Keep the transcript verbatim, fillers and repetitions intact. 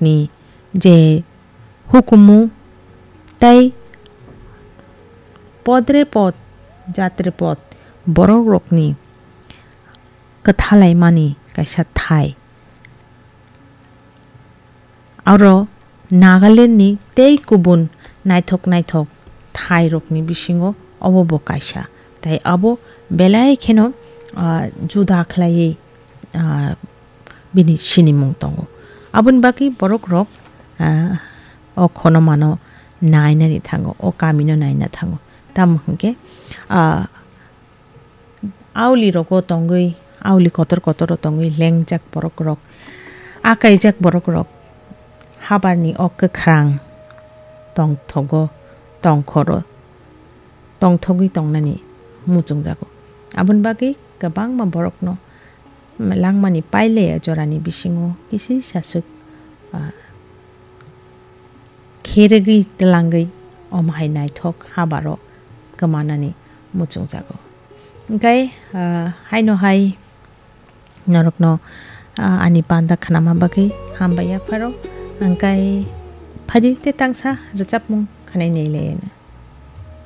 ni je hukumu tei podre pod, jatre pod, borok rokni kwthalaimani kaisa thai. Aro Nagaland ni tei kubun naithok naithok thai rokni bisingo obo bo kaisa. Tei abo belai kheno, ah, juda khlaiwi, ah, bini sinimung tongo. Aboni bagwi borok rok, ah, o khonomano nainani thango, o kamino naina thango. Tamo hwnkhe, ah, auli rogo tongwi, auli kotor kotoro tongwi lengjak borok rok, akaijak borok rok habarni o kwkhrang tongthogo, tongkhoro, tongthogwi tongnani muchungjago. Aboni bagwi kwbangma borokno langmani pailaya jorani bisingo kisisa swk, ah, khergwi twlangwi omo hai naithok habaro kwmanani muchungjago. Hwnkhe, ah, haino hai norokno, ah, ani panda khnama bagwi hambai yapharo. Hwnkhe phaidi tei tangsa rwchapmung khwnai nailaiano.